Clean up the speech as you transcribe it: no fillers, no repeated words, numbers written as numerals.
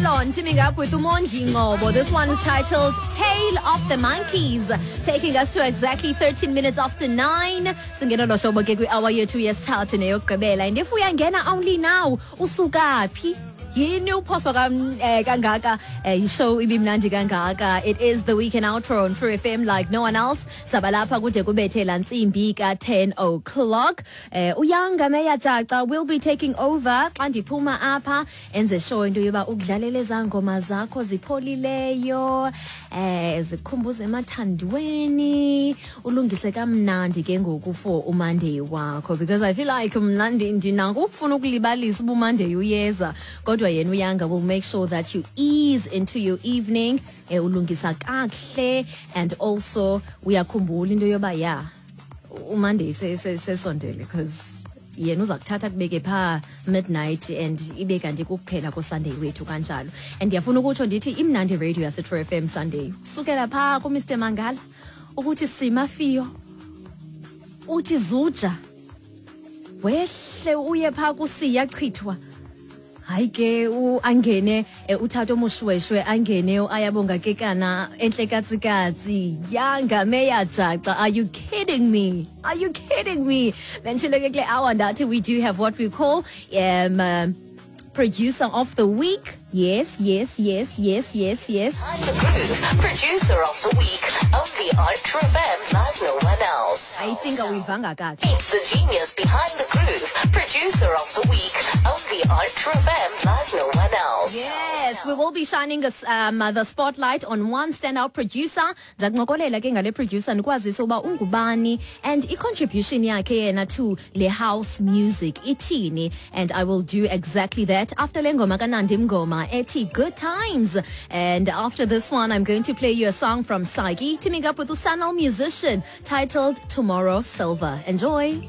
Melon teaming up with Umondli Ngobo. This one is titled Tale of the Monkeys, taking us to exactly 13 minutes after 9. Singena lo hlobo ke kwi-hour yethu yesithathu neyokugqibela. And if uyangena only now, usuka phi? Yini uphoswa kangaka ishow ibimnandi kangaka? It is the weekend outro on True FM like no one else. Sabalapha kude kubethe la ntsimbi ka-10 o'clock. Uyanga Meya Jaca will be taking over xa ndiphuma apha, enze sure into yoba ukudlalela ezaa ngoma zakho zipholileyo, zikhumbuze emathandweni, ulungise kamnandi ke ngoku for uMonday wakho, because I feel like mna ndinako ukufuna ukulibalisa uba uMonday uyeza, kodwa yena uYanga will make sure that you ease into your evening, ulungisa kakuhle, and also uyakhumbula into yoba ya uMonday sesondele, because yena uza kuthatha kubeke phaa midnight and ibe kanti kukuphela koSunday wethu kanjalo. And ndiyafuna ukutsho ndithi imnandi radio yaseTrue FM Sunday, sukela phaa kuMr Mangala ukuthi simafiyo uthi zuja wehle uye phaa kusiya chithwa, hayi ke angene uthatha omushweshwe, angene Ayabonga Kekana enhle katsikatsi Yanga Meya Jaca. Are you kidding me? Are you kidding me? Bentshilo ke kule hour ndathi we do have what we call producer of the week. Yes. I'm the Groove, producer of the week, only on True FM like no one else. I think awuyivanga kakuhle. Meet the genius behind the groove, producer of the week, only on True FM like no one else. Yes, we will be shining us, the spotlight on one standout producer. Ndizakuncokolela ke ngale producer, ndikwazise uba ungubani and i-contribution yakhe yena to le house music ithini. And I will do exactly that after le ngoma kaNandi Mngoma ethi Good Times. And after this one, I'm going to play you a song from Sagi teaming up with Usanal musician titled Tomorrow Silver. Enjoy.